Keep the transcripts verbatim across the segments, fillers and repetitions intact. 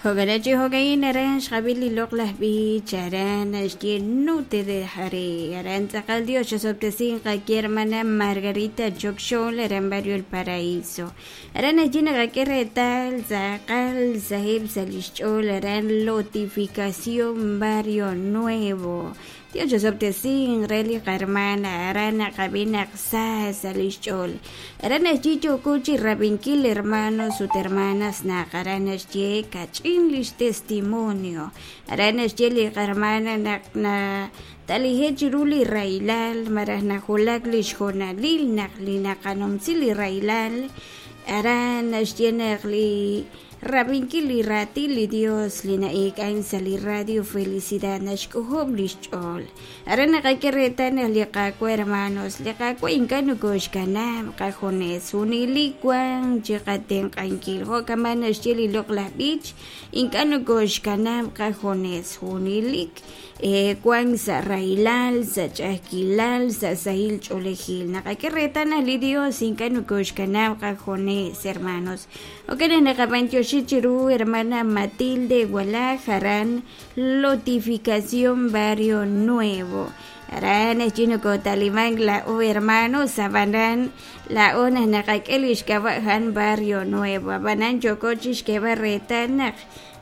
Jo'kanachi jo'ka'in aran xqab'il li loq'laj b'ich aran naxye no te dejaré aran tz'aqal Dios xosob'tesinqa ki hermana Margarita Chokxol aran barrio El Paraíso aran naxye naqak'e reetal tz'aqal sahib' sa' lix ch'ool aran lotificación Barrio Nuevo Dios xosob'tesin re li qarmana aran naqab'i naq sa sa' lix ch'ool aran naxye yooko chi rab'inkil hermanos ut hermanas naq aran naxye kach'in lix testimonio aran naxye li qarmana naq na talije' chiru li rahilal malaj najulak lix jo'nalil naq li naqanumsi li rahilal aran naxye naq li rab'inkil li raatin li Dios li na'eek'an sa' li radio Felicidad naxk'ojob' lix ch'ool aran naqak'e reetal naq li Qaawa' hermanos li Qaawa' ink'a' nokoxkanab' qajunes junelik wan chiqatenq'ankil jo'kaman naxye li loq'laj b'ich ink'a' nokoxkanab' qajunes junelik eh, wan sa' rahilal sa' ch'a'ajkilal sa' sahil ch'oolejil naqak'e reetal naq li Dios ink'a' nokoxkanab' qajunes hermanos jo'kan naq naqab'antioxi chiru hermana Matilde Walaj aran Lotificación Barrio Nuevo aran naxye nokotalimank la'o hermanos ab'anan la'o naq naqak'e lix k'ab'a' jan Barrio Nuevo ab'anan yooko chixk'eeb'al reetal naq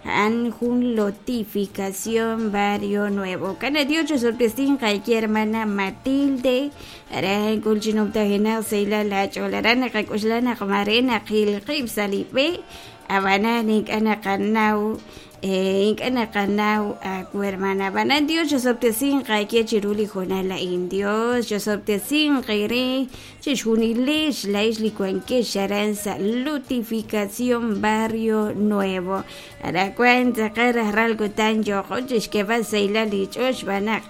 a'an jun lotificación Barrio Nuevo kana Dios xosob'tesinqa ki hermana Matilde aran kul chinumtajenaq sahilal lach'ool aran naqak'uxla naq mare naqil qib' sa' li b'e ab'anan ink'a' naqanaw eh, ink'a' naqanaw aawu hermana ab'anan Dios xosob'tesinqa ki chiru li jo'nal a'in Dios xosob'tesinqa re chixjunilex la'ix li wankex aran sa' lotificación Barrio Nuevo aran tz'aqal rajlal kutan yooko chixk'eeb'al sahilal li ch'och xb'aan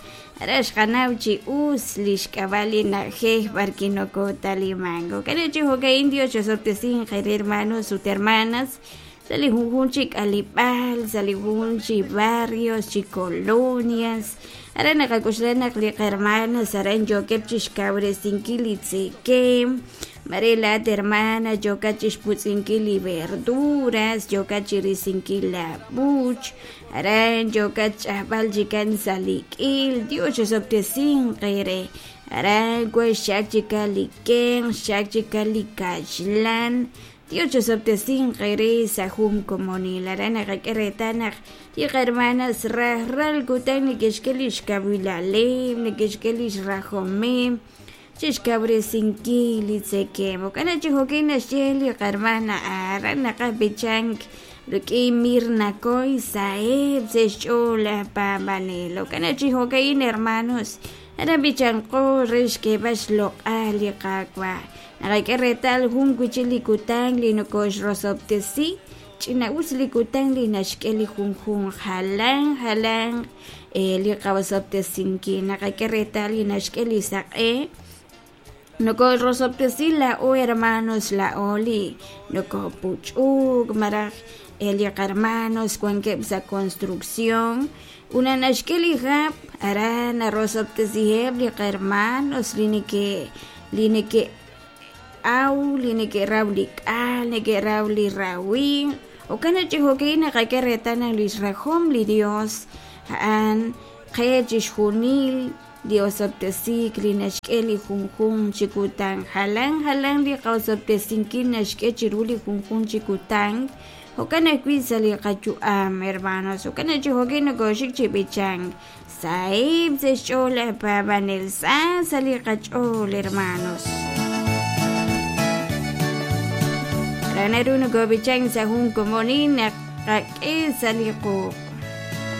ara xqanaw chi us lix k'ab'a' li na'ajej b'ar wi' nokotalimank jo'kan chi jo'ka'in Dios xosob'tesinqa re hermanos ut hermanas sa' li junjun chi k'alib'aal sa' li junjun chi barrios chi colonias aran naqak'uxla naq li qarmanas aran yookeb' chixkawresinkil li tzekem mare laat hermana yookat chixputz'inkil li verduras yookat chirisinkil la b'uch aran yookat ch'ajb'al chikan sa' li k'il Dios xosob'tesinqa re aran wan xchak chikan li kenq xchak chikan li kaxlan Dios xosob'tesinqa re sa' jun komonil aran naqak'e reetal naq li qarmanas rajlal kutan neke'xk'e lix kawilaleb' neke'xk'e lix rajomeb' chixkawresinkil li tzekem jo'kan chi jo'kin naxye li qarmana aran naqaj b'ichank rik'in Mirna Coy saheb' sa' xch'ool laj paab'anel jo'kan chi jo'ka'in hermanos aran b'ichanqo re xk'eeb'al xloq'al li Qaawa' naqak'e reetal jun wi'chik li kutan li nokoxrosob'tesi ch'ina'us li kutan li naxk'e li junjun jalan jalan eh, li qawosob'tesinkil naqak'e reetal li naxk'e li saq'e nokoxrosob'tesi la'o hermanos la'o li nokopuch'uk malaj eh, li qarmanos wankeb' sa' construcción una naxk'e li hab' aran narosob'tesiheb' li qarmanos li neke' li neke' aw li neke'raw li k'al neke'raw li rawin jo'kan chi jo'ka'in naqak'e reetal naq lix rajom li Dios a'an qe chixjunil li osob'tesik li naxk'e li junjun chi kutan jalan jalan li qaosob'tesinkil naxk'e chiru li junjun chi kutan jo'kan ajwi' sa' li qayu'am hermanos jo'kan chi jo'kin nokoxik chi b'ichank sahib' sa' xch'ool laj paab'anel sa sa' li qach'ool hermanos aran naru nokob'ichank sa' jun komonil naq qak'e sa' li quq'